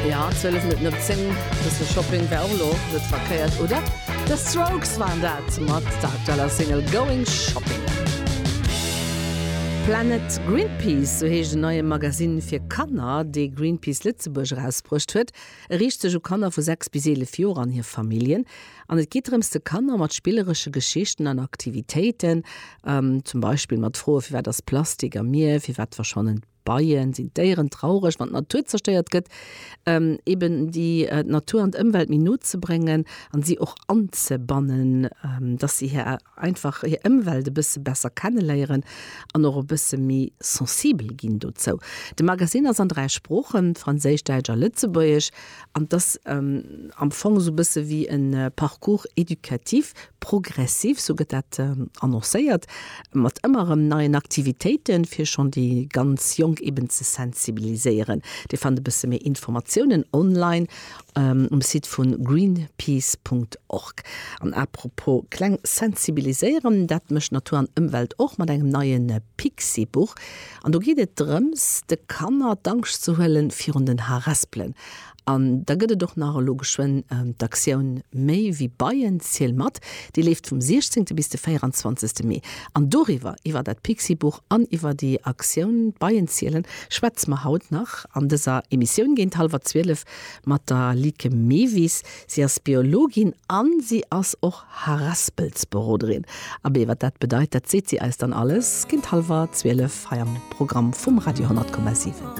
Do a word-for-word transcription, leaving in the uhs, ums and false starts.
Ja, zwielef Minutten op zéng, bësse Shopping wär och elo net verkéiert, oder? The Strokes waren dat mat der aktueller Single Going Shopping. Planet Greenpeace, sou heescht en neie Magasinn fir Kanner, dee Greenpeace Lëtzebuerg erausbruecht huet. E riicht sech u Kanner vu sechs bis eelef Joer an hir Familljen. An et geet drëms, de Kanner mat spilleresche Geschichten an Aktivitéiten, zum Beispill mat Froe firwat ass Plastik am Mier, firwat verschwannen d'Beien, sinn d'Déieren traureg, wann d'Natur zerstéiert gëtt, eben déi d'Natur an d'Ëmwelt méi no ze bréngen an si och anzebannen, dass si hir einfach hir Ëmwelt e bësse besser kenneléieren an och e bësse méi sensibel ginn dozou. De Magasinn ass an dräi Sproochen, Franséisch, Däitsch a Lëtzebuergesch, an et ass am Fong esou e bësse wéi e Parcours éducatif progressif, sou gëtt dat annoncéiert, mat ëmmer erëm neien Aktivitéiten, fir schonn déi ganz Jonk eben ze sensibiliséieren. Dir fannt e bësse méi Informatiounen online um Site vu greenpeace Punkt org. An apropos kleng sensibiliséieren, dat mécht Natur an Ëmwelt och mat engem neie Pixi-Buch. An do geet et drëms, de Kanner d'Angscht ze huelen virun den Harespelen. An da gëtt et och nach elo geschwënn d'Aktioun Méi wéi Beien, ziel mat. Déi leeft vum siechzéngte bis de véierundzwanzegste Mee. An doriwwer, iwwer dat Pixi-Buch an iwwer déi Aktioun Beien zielen, schwätze mer haut nach an dëser Emissioun géint hallwer zwielef mat der Lieke Mevis. Si ass Biologin an si ass och Harespelsberoderin. Abee, wat dat bedeit, dat seet si eis dann alles géint hallwer zwielef hei am Programm vum Radio honnert Komma siwen.